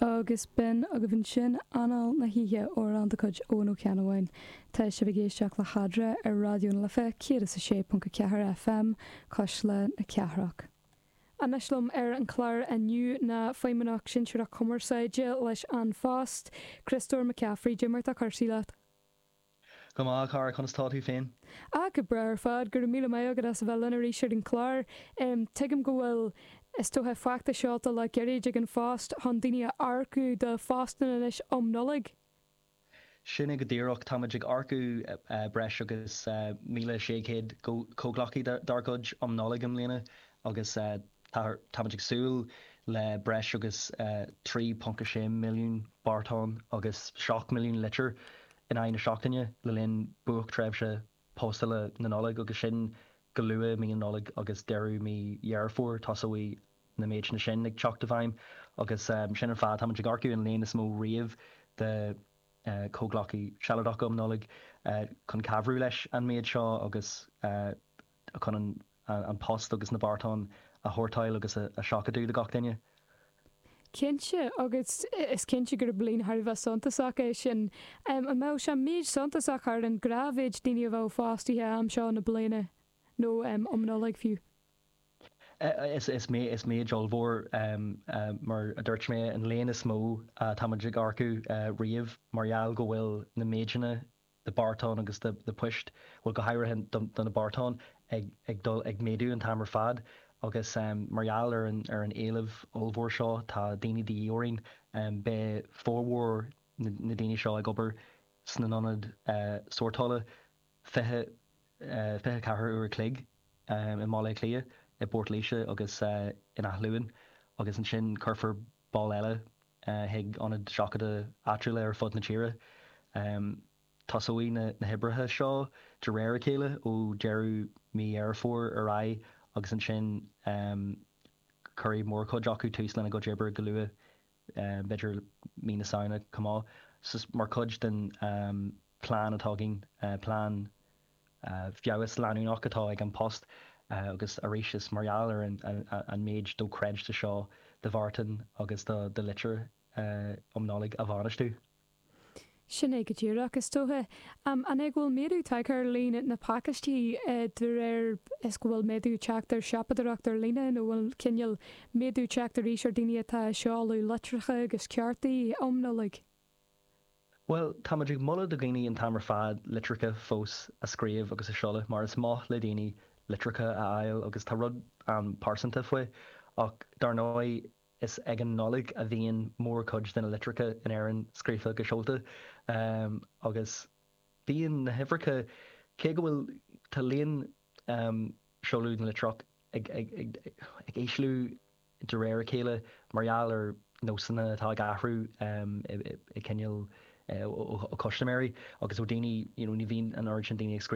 Agus b'in agaibh ansin Anáil na hOíche, amhrán de chuid Eoghan Ó Ceannabháin. Tá sibh ag éisteacht le hEadra ar Raidió na Life 106.4 FM, Cuisle na Cathrach. Anois liom ar an chlár inniu ná Feidhmeannach Sinsearach Cumarsáide leis An Phost, Críostóir McCaffrey. Cad é mar atá cúrsaí leat? Go maith, a chara, conas tá tú féin? Ah, go breá ar fad, go raibh míle maith agat as a bheith linn arís ar an chlár. Tuigim go bhfuil, is dócha, feachtas seolta le gairid ag An Phost chun daoine a earcú do phostanna anois um Nollaig. Sin é go díreach, táimid ag earcú breis agus 1,600 comhghleacaí dár gcuid um Nollaig i mbliana agus táimid ag súil le breis agus 3.6 milliún beartán agus 7 milliún litir in aghaidh na seachtaine le linn buaictréimhse postála na Nollag agus sin go luath i mí na Nollag agus deireadh mí Dheireadh Fómhair tosóidh na méideanna sin ag teacht i bhfeidhm agus sin an fáth táimid ag earcú an líon is mó riamh de chomhghleacaí sealadacha um Nollaig chun cabhrú leis an méid seo agus chun an post agus na beartáin a shórtáil agus a sheachadadh do gach duine. Cinnte, agus is cinnte gurb líon thar a bheith suntasach é sin. An mbeadh sé méid suntasach thar an ngnáthmhéid daoine a bheadh fostaithe am seo na bliana, nó um Nollaig fiú? Is méid ollmhór, mar a dúirt mé, an líon is mó atáimid ag earcú riamh mar gheall go bhfuil na méideanna de bheartáin agus de phoist, bhuel go háirithe do na beartáin, ag dul ag méadú an t-am ar fad agus mar gheall ar an ar an éileamh ollmhór seo tá daoine de dhíth orainn. Beidh formhór na daoine seo ag obair sna n-ionaid sórtála 20, 24 uair a chloig i mBaile Átha Cliath, i bPort Laoise agus in Áth Luain agus ansin cuirfear ball eile chuig ionaid seachadta áitiúla ar fud na tíre. Tosóidh na hoibrithe seo de réir a chéile ó deireadh mí Dheireadh Fómhair ar aghaidh agus ansin cuirfidh mórchuid acu tús lena gcuid oibre go luath, b'fhéidir mí na Samhna chomh maith. Mar chuid den plean atá againn, plean feabhas leanúnach atá ag An Post agus arís is mar gheall ar an méid dochreidte seo de bheartáin agus de litreacha um Nollaig a bhainistiú. Sin é go díreach, is dócha. An é go bhfuil méadú tagtha ar líon na pacáistí de réir is go bhfuil méadú teacht ar siopadóireacht ar líne nó bhfuil cineál méadú teacht arís ar daoine atá ag seoladh litreacha agus cártaí um Nollaig? Bhuel, táimid ag moladh do dhaoine an t-am ar fad litreacha fós a scríobh agus a seoladh mar is maith le daoine litreacha a fháil agus tá rud an-pearsanta faoi. Ach dar ndóigh is ag an Nollaig a bhíonn mórchuid de na litreacha in Éirinn scríofa agus seolta agus bíonn na huimhreacha, cé go bhfuil, tá líon seoladh na litreach ag ag ísliú de réir a chéile mar gheall ar nósanna atá ag athrú i cineál ó chustaiméirí agus ó daoine, you know, ní bhíonn an oiread sin daoine ag scríobh.